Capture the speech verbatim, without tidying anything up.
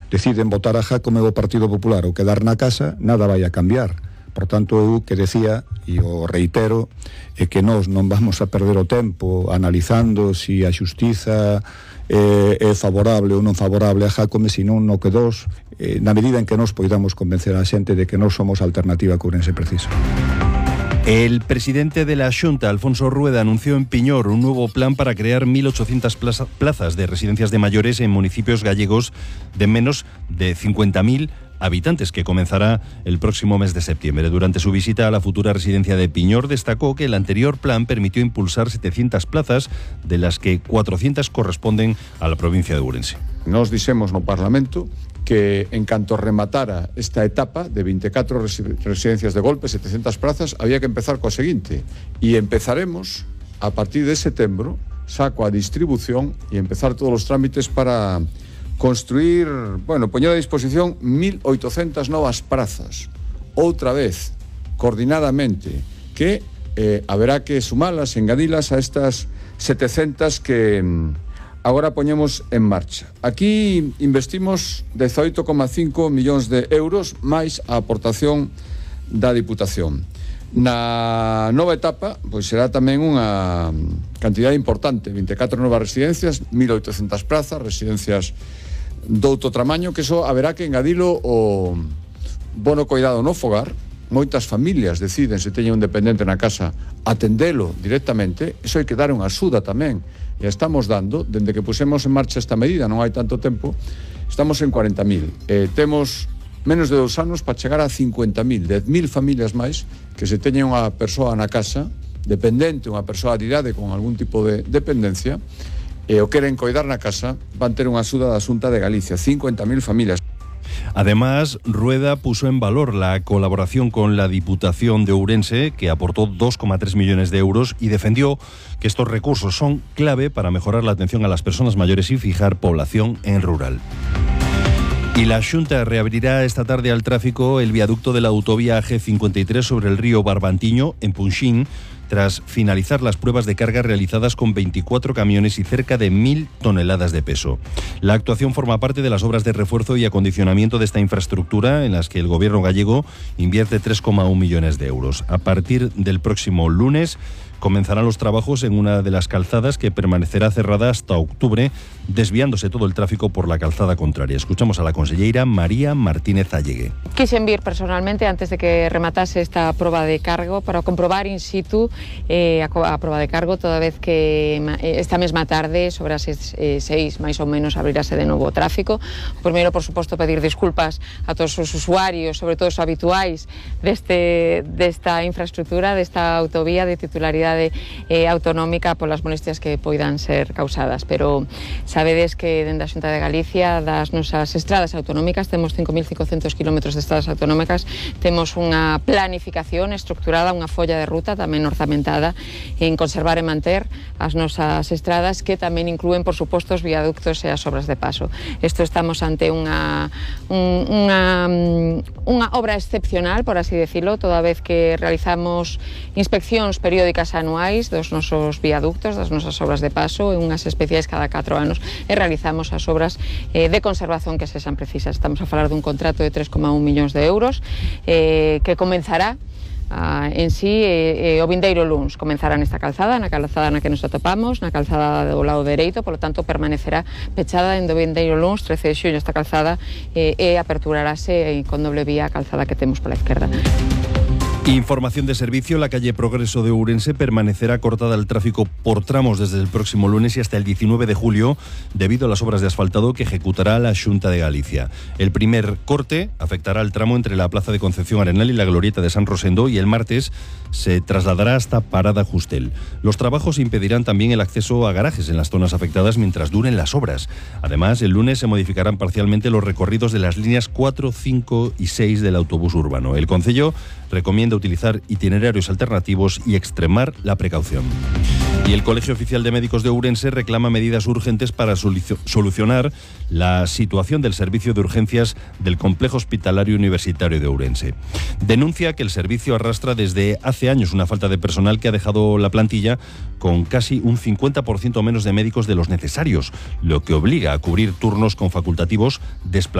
deciden votar a Jácome o Partido Popular ou quedar na casa, nada vai a cambiar. Por tanto, eu que decía, e o reitero, é que nós non vamos a perder o tempo analizando se a xustiza é, é favorable ou non favorable a Jácome, senón no que dos, eh, na medida en que nós poidamos convencer a xente de que nós somos a alternativa que Ourense precisa. El presidente de la Xunta, Alfonso Rueda, anunció en Piñor un nuevo plan para crear mil ochocientas plaza, plazas de residencias de mayores en municipios gallegos de menos de cincuenta mil habitantes, que comenzará el próximo mes de septiembre. Durante su visita a la futura residencia de Piñor, destacó que el anterior plan permitió impulsar setecientas plazas, de las que cuatrocientas corresponden a la provincia de Ourense. Nos dixemos no Parlamento que en canto rematara esta etapa de vinte e catro residencias de golpe, setecientas plazas, había que empezar coa seguinte, e empezaremos a partir de setembro, xa coa distribución e empezar todos os trámites para construir, bueno, poñer a disposición mil oitocentas novas prazas, outra vez, coordinadamente, que eh, haberá que sumalas, engadilas a estas setecentas que agora poñemos en marcha. Aquí investimos dezoito coma cinco millóns de euros máis a aportación da Diputación. Na nova etapa, pois será tamén unha cantidade importante, vinte e catro novas residencias, mil oitocentas plazas, residencias douto tramaño, que eso haberá que engadilo o bono cuidado no fogar. Moitas familias deciden, se teñen un dependente na casa, atendelo directamente. Eso hai que dar unha axuda tamén, e estamos dando, dende que pusemos en marcha esta medida, non hai tanto tempo, estamos en cuarenta mil. Eh, temos menos de dous anos para chegar a cincuenta mil, dez mil familias máis que se teñen unha persoa na casa, dependente, unha persoa de idade con algún tipo de dependencia, e o queren coidar na casa, van ter unha axuda da Xunta de Galicia, cincuenta mil familias. Además, Rueda puso en valor la colaboración con la Diputación de Ourense, que aportó dos coma tres millones de euros, y defendió que estos recursos son clave para mejorar la atención a las personas mayores y fijar población en rural. Y la Xunta reabrirá esta tarde al tráfico el viaducto de la autovía A G cincuenta y tres sobre el río Barbantiño, en Punxín, tras finalizar las pruebas de carga realizadas con veinticuatro camiones y cerca de mil toneladas de peso. La actuación forma parte de las obras de refuerzo y acondicionamiento de esta infraestructura, en las que el gobierno gallego invierte tres coma uno millones de euros. A partir del próximo lunes comenzarán los trabajos en una de las calzadas, que permanecerá cerrada hasta octubre, desviándose todo el tráfico por la calzada contraria. Escuchamos a la conselleira María Martínez Allegue. Quixen vir personalmente antes de que rematase esta proba de cargo para comprobar in situ eh, a, a proba de cargo, toda vez que esta mesma tarde, sobre as eh, seis máis ou menos, abrirase de novo o tráfico. O primeiro, por suposto, pedir disculpas a todos os usuarios, sobre todo os habituais deste, desta infraestructura, desta autovía de titularidade Eh, autonómica, polas molestias que poidan ser causadas, pero sabedes que dende a Xunta de Galicia, das nosas estradas autonómicas, temos cinco mil cincocentos kilómetros de estradas autonómicas, temos unha planificación estructurada, unha folla de ruta tamén orzamentada en conservar e manter as nosas estradas, que tamén inclúen, por suposto, os viaductos e as obras de paso. Isto estamos ante unha, un, unha, unha obra excepcional, por así decirlo, toda vez que realizamos inspeccións periódicas anuais dos nosos viaductos, das nosas obras de paso, e unhas especiais cada catro anos, e realizamos as obras eh, de conservación que sexan precisas. Estamos a falar dun contrato de tres coma un millóns de euros eh, que comenzará Uh, en sí eh, eh, o vindeiro luns. Comenzará nesta calzada, na calzada na que nos atopamos, na calzada do lado dereito, polo tanto permanecerá pechada en do vindeiro luns, trece de xuño, esta calzada eh, e aperturarase eh, con doble vía a calzada que temos pola esquerda. Información de servicio: la calle Progreso de Ourense permanecerá cortada al tráfico por tramos desde el próximo lunes y hasta el diecinueve de julio, debido a las obras de asfaltado que ejecutará la Xunta de Galicia. El primer corte afectará al tramo entre la Plaza de Concepción Arenal y la Glorieta de San Rosendo, y el martes se trasladará hasta Parada Justel. Los trabajos impedirán también el acceso a garajes en las zonas afectadas mientras duren las obras. Además, el lunes se modificarán parcialmente los recorridos de las líneas cuatro, cinco y seis del autobús urbano. El concello recomienda utilizar itinerarios alternativos y extremar la precaución. Y el Colegio Oficial de Médicos de Ourense reclama medidas urgentes para solucionar la situación del servicio de urgencias del Complejo Hospitalario Universitario de Ourense. Denuncia que el servicio arrastra desde hace años una falta de personal que ha dejado la plantilla con casi un cincuenta por ciento menos de médicos de los necesarios, lo que obliga a cubrir turnos con facultativos desplazados